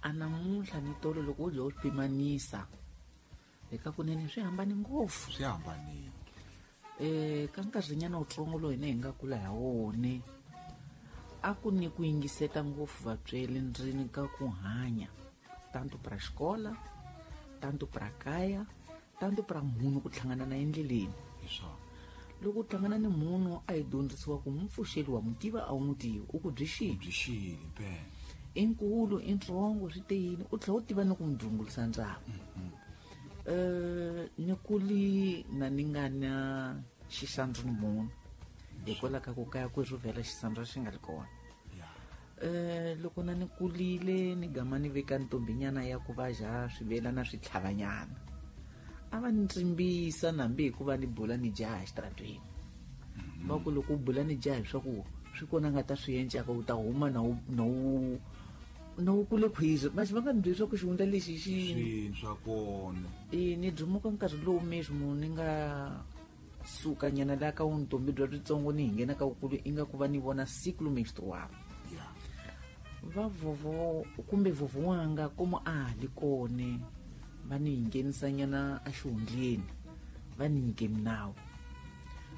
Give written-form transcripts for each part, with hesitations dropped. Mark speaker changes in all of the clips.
Speaker 1: A namuntlha ni tolo loko u dya u swi pimanisa eka kunene swi hambane ngopfu.
Speaker 2: Swi hambanile.
Speaker 1: Ka nkarhinyana wutsongo lowu hina hi nga kula ha wone a ku ni ku yingiseta ngopfu vatsweri ndzeni ka ku hanya tanto pra xikola tanto pra kaya tanto pra munhu ku hlangana na endleleni.
Speaker 2: Hi swona.
Speaker 1: Loko u hlangana ni munhu a hi dyondzisiwa ku n'wi pfuxeli wa n'wi tiva a wu n'wi tivi u ku byi xini.
Speaker 2: Byi xile impela.
Speaker 1: I nkulu i ntsongo swi te yini u tlhela u tiva ni ku n'wi dzungulisa ndzhaku. Ni kuli na ni nga na xisandzu ni munhu hikwalaho ka ku kaya ku rhuvela xisandzu xi nga ri kona. Loko na ni kulile ni gama ni veka ntombinyana ya ku va ja swivelana swi tlhavanyana a va ni tsimbisa nambi hikuva ni bula ni jaha exitaratweni. Va ku loko u bula ni jaha leswaku swi kona nga ta swi encaka u ta huma na wu na wu na wu kule khwizi masi va nga ni byeli swa ku xihundla lexi xi
Speaker 2: Swini swa kona.
Speaker 1: E ni dumuka nkarhi lowu mesmo ni nga suka nyana la ka vuntombi bya byitsongo ni hi nghena ka vukulu inga ku va ni vona ciclo menstrual. Va vovo kumbe vovo wanga komo a ha li kone va ni hi nghenisanyana exihundleni va ni nyike minawu.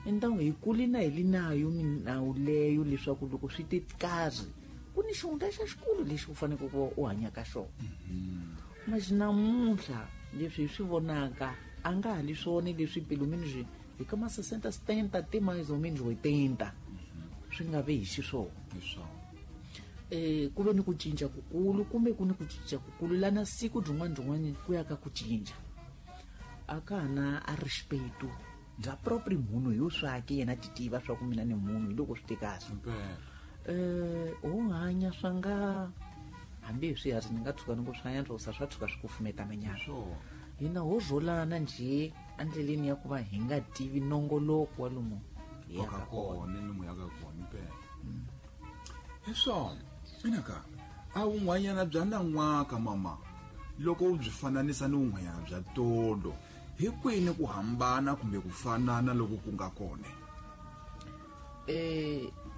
Speaker 1: Entangu hi kuli na hi li nayo minawu leyo leswaku loko swi te karhi ku ni xihundla xa xikulu lexi u faneleke ku va u hanya ka xona. Mas namuntlha leswi hi swi vonaka a nga ha li swona leswi pelo menos hi ka ma 60 70 te mais ou menos 80 swi nga ve hi xiswona.
Speaker 2: Hi swona.
Speaker 1: Ku ve ni ku cinca kukulu kumbe ku ni ku cinca kukulu lana siku byin'wana byin'wana ku ya ka ku cinca a ka ha na a respeto bya proprio munhu hi swake yena ti tiva swa ku mina ni munhu hi loko swi te kahle.
Speaker 2: Impela.
Speaker 1: Ho hanya swa nga hambi hi swiharhi ni nga tshuka ni ku swa yantswa sa swa tshuka swi kufumeta manyana.
Speaker 2: Swona.
Speaker 1: Hina ho rholana njhe endleleni ya ku va hi nga tivi nongoloko wa lomu hi
Speaker 2: Wa ka
Speaker 1: yaka kona.
Speaker 2: kona lomu yaka kona impela. Hi swona. Mina ka a wun'wanyana bya nan'waka mama loko u byi fananisa ni wun'wanyana bya tolo hi kwini ku hambana kumbe ku fanana loko ku nga kona?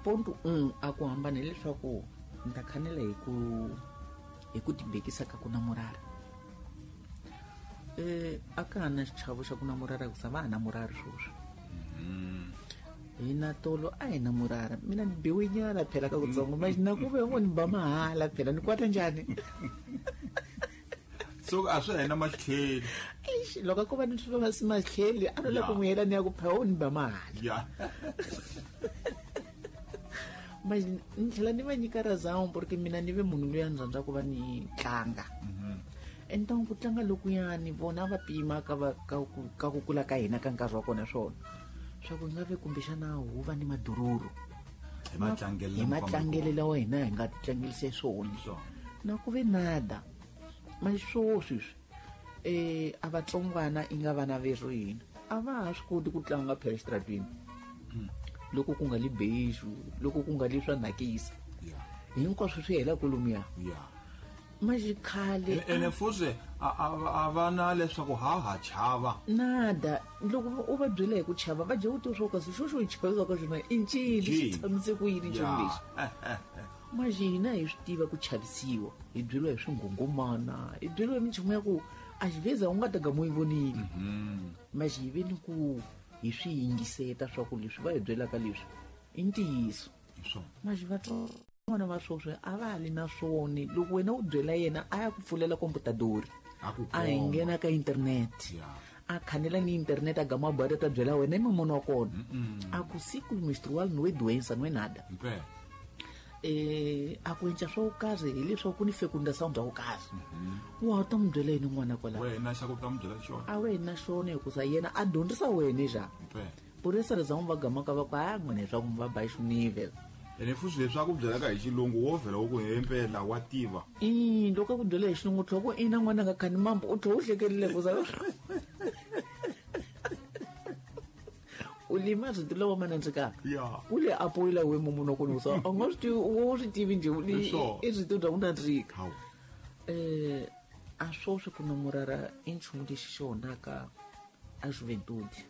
Speaker 1: Ponto 1 a ku hambana hileswaku ni ta khanela hi ku tibekisa ka ku namorara. A ka ha na xichavo xa ku namorara hikusa va ha namorari sweswi. Hina tolo a hi namorara mina ni biwe nyana phela ka kutsongo manje na ku ve ngo ni ba mahala phela ni kwata njhani.
Speaker 2: So a swi hena matlheli.
Speaker 1: Eish, loko ko va ni swi va si matlheli a no la ku n'wi yela ni ya ku phela u ni ba mahala. Manje ni tlhela ni va nyika razão porque mina ni ve munhu loyi a ni rhandza ku va ni tlanga. Então ku tlanga lokuyani vona va pima ka va ka ku ka ku kula ka hina ka nkarhi wa kona swona swa ku nga ve kumbexana hu va ni madururu
Speaker 2: Hi matlangelo
Speaker 1: hi matlangelo lawa hina hi nga tlangelise swona.
Speaker 2: Swona.
Speaker 1: Na ku ve nada manje swo sweswi a vatsongwana i nga vana verhu hina a va ha swi koti ku tlanga phela exitaratweni. Loko ku nga li beijo loko ku nga li swa nakisa. Hinkwaswo swi hela kolomuya. Manje khale
Speaker 2: Ene futhi a va na leswaku ha ha chava.
Speaker 1: Nada loko u va byela hi ku chava va dya u tiva swa ku kasi xo xo hi chavisaka xona i ncini xi
Speaker 2: Ncini.
Speaker 1: tshamise ku yini nchumu lexi. Manje hina hi swi tiva ku chavisiwa hi byeriwa hi swinghunghumana hi byeriwa hi minchumu ya ku a xiveza u nga ta gama u yi vonile. Manje hi ve ni ku hi swi yingiseta swa ku leswi va hi byelaka leswi i ntiyiso.
Speaker 2: Hi swona.
Speaker 1: Manje vatsongwana va sweswi a va ha li na swona loko wena u byela yena a ya ku pfulela komputadori
Speaker 2: A ku
Speaker 1: a hi
Speaker 2: komba.
Speaker 1: nghena ka internet. A khanela ni internet a gama a ta byela wena i mamona wa kona. A ku ciclo menstrual no é doença no é nada.
Speaker 2: Impela.
Speaker 1: A ku endla swo karhi hileswaku ku ni fecundação bya ku karhi. Wa ta n'wi byela yini n'wana kwalaho?
Speaker 2: Wena xa ku ta n'wi byela xona.
Speaker 1: A wena xona hikusa yena a dyondzisa wena njhani?
Speaker 2: Impela.
Speaker 1: Por essa razão va gamaka va ku ha n'wina leswaku mi va ba xinivel.
Speaker 2: Ene futhi leswi a ku byelaka hi xilungu wo vhela u ku hempela wa tiva.
Speaker 1: I loko a ku byela hi xilungu u tlhela ku ina n'wana nga khani mambo u tlhela u hlekerile ku za u lima rito lawa ma nandzikaka. U le apoyela we munhu wa kona ku sa a nga swi tivi u swi tivi njhe
Speaker 2: Leswo.
Speaker 1: i rito ra ku nandzika.
Speaker 2: Hawu.
Speaker 1: A swoswi ku namorara i nchumu lexi xi onhaka a juventude.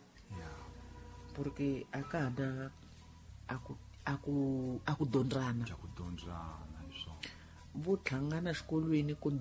Speaker 1: Porque a ka ha na a ku dyondzana.
Speaker 2: A ku dyondzana hi swona.
Speaker 1: Vo hlangana xikolweni ku